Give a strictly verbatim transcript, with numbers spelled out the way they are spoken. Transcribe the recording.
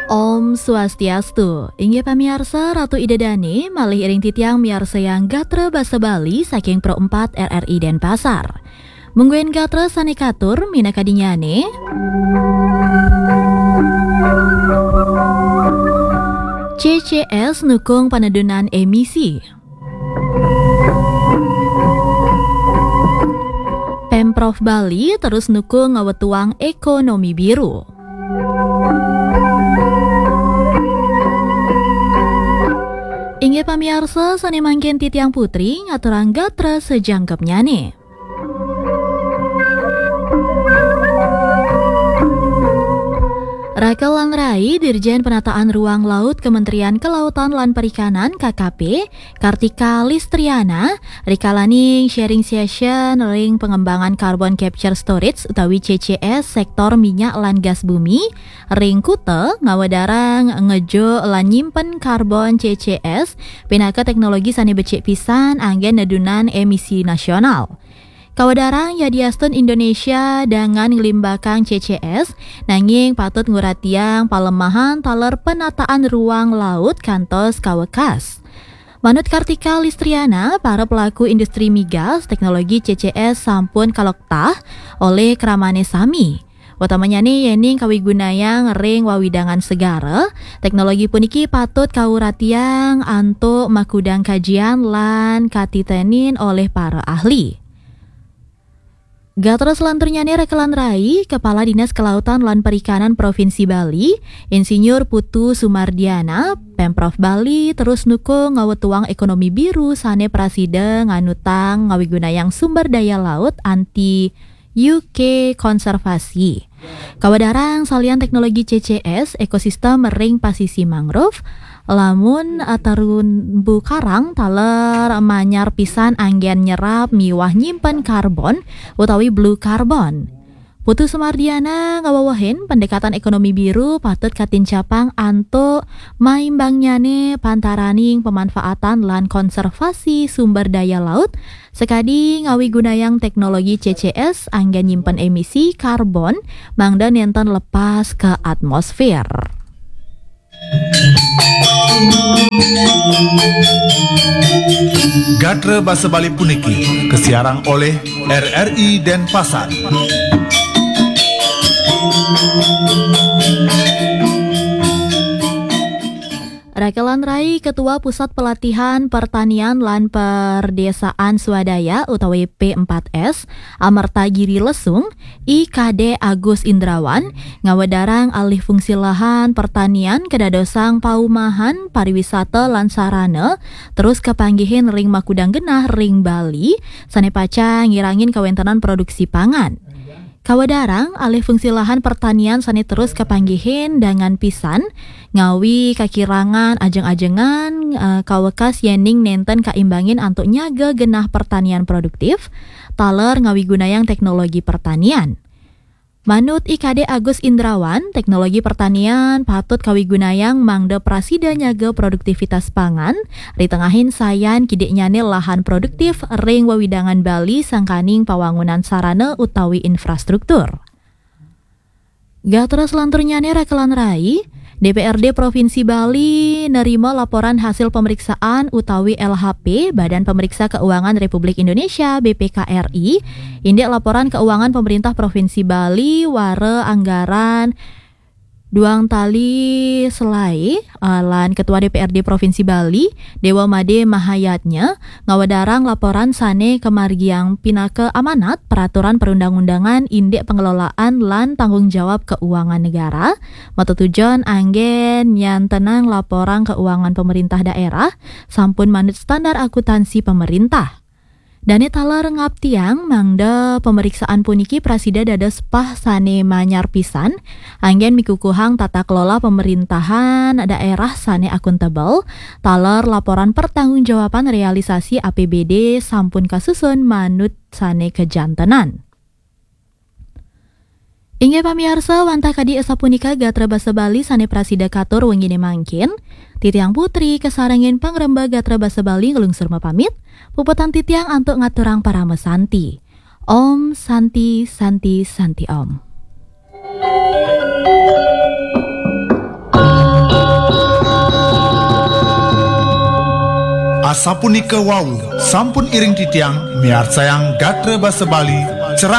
Om Swastiastu. Inggih pamiarsa, Ratu Ida Dane malih iring titiang miarsayang gatra basa Bali saking Pro empat R R I Denpasar. Mungguing gatra sane katur minakadinnyane, C C S nukung panedunan emisi. Pemprov Bali terus nukung ngawetuang ekonomi biru. Inggih pamiarsa, sane mangkin titiang Putri ngaturang gatra sajangkepnyane. Raka lan rai, Dirjen Penataan Ruang Laut Kementerian Kelautan lan Perikanan, K K P, Kartika Listriana, rikalaning sharing session ring pengembangan carbon capture storage utawi C C S sektor minyak lan gas bumi ring Kuta, ngawedarang ngejuk lan nyimpen karbon C C S pinaka teknologi sane becik pisan anggen nedunan emisi nasional. Kawedarang yadiastun Indonesia dangan nglimbakang C C S, nanging patut nguratiang palemahan taler penataan ruang laut kantos kawekas. Manut Kartika Listriana, para pelaku industri migas, teknologi C C S sampun kaloktah olih kramane sami. Utamanyane yening kawigunayang ring wawidangan segara, teknologi puniki patut kauratiang antuk makudang kajian lan katitenin olih para ahli. Gatra selanturnyane raka lan rai, Kepala Dinas Kelautan lan Perikanan Provinsi Bali, Insinyur Putu Sumardiana, Pemprov Bali terus nukung ngawetuang ekonomi biru sane prasida nganutang ngawigunayang sumber daya laut anti U K konservasi. Kawedarang salian teknologi C C S, ekosistem ring pasisi mangrove, lamun, eh, terumbu karang taler manyar pisan anggen nyerap miwah nyimpen karbon utawi blue carbon. Putu Sumardiana ngawewehin pendekatan ekonomi biru patut katincapang antuk maimbangnyane pantaraning pemanfaatan lan konservasi sumber daya laut, sakadi ngawigunayang teknologi C C S anggen nyimpen emisi karbon mangda nenten lepas ka atmosfer. Gatra basa Bali puniki kasiarang olih R R I Denpasar. Raka lan rai, Ketua Pusat Pelatihan Pertanian lan Perdesaan Swadaya utawi P empat S, Amerta Giri Lesung, I K D Agus Indrawan, ngawedarang alih fungsi lahan pertanian kadadosang paumahan, pariwisata, lan sarana, terus kapanggihin ring makudang genah ring Bali, sane pacang ngirangin kawentenan produksi pangan. Kawedarang alih fungsi lahan pertanian sane terus kapanggihin dangan pisan, ngawi kakirangan ajeng-ajengan, eh, kawekas yening nenten kaimbangin antuk nyaga genah pertanian produktif, taler ngawigunayang teknologi pertanian. Manut I K D Agus Indrawan, teknologi pertanian patut kawigunayang mangda prasida nyaga produktivitas pangan, ritengahin sayan kidiknyane lahan produktif ring wewidangan Bali sangkaning pawangunan sarana utawi infrastruktur. Gatra selanturnyane raka lan rai, D P R D Provinsi Bali nerima laporan hasil pemeriksaan utawi L H P Badan Pemeriksa Keuangan Republik Indonesia, B P K R I, indik laporan keuangan pemerintah Provinsi Bali wara anggaran duang tali selai, eh, lan Ketua D P R D Provinsi Bali, Dewa Made Mahayatnya, ngawedarang laporan sane kamargiang pinaka amanat peraturan perundang-undangan indik pengelolaan lan tanggung jawab keuangan negara, matetujon anggen nyantenang laporan keuangan pemerintah daerah sampun manut standar akuntansi pemerintah. Dane taler ngaptiang mangda pemeriksaan puniki prasida dados pah sane manyar pisan, anggen mikukuhang tata kelola pemerintahan daerah sane akuntabel, taler laporan pertanggungjawaban realisasi A P B D sampun kasusun manut sane kajantenan. Inggih pamiarsa, wantah kadi asapunika gatra basa Bali sane prasida katur wengine mangkin. Titiang Putri kasarengin pangrembag gatra basa Bali nglungsur mapamit. Puputang titiang antuk ngaturang parama santi. Om Santi, Santi, Santi Om. Asapunika wau, sampun iring titiang miarcayang gatra basa Bali, cerah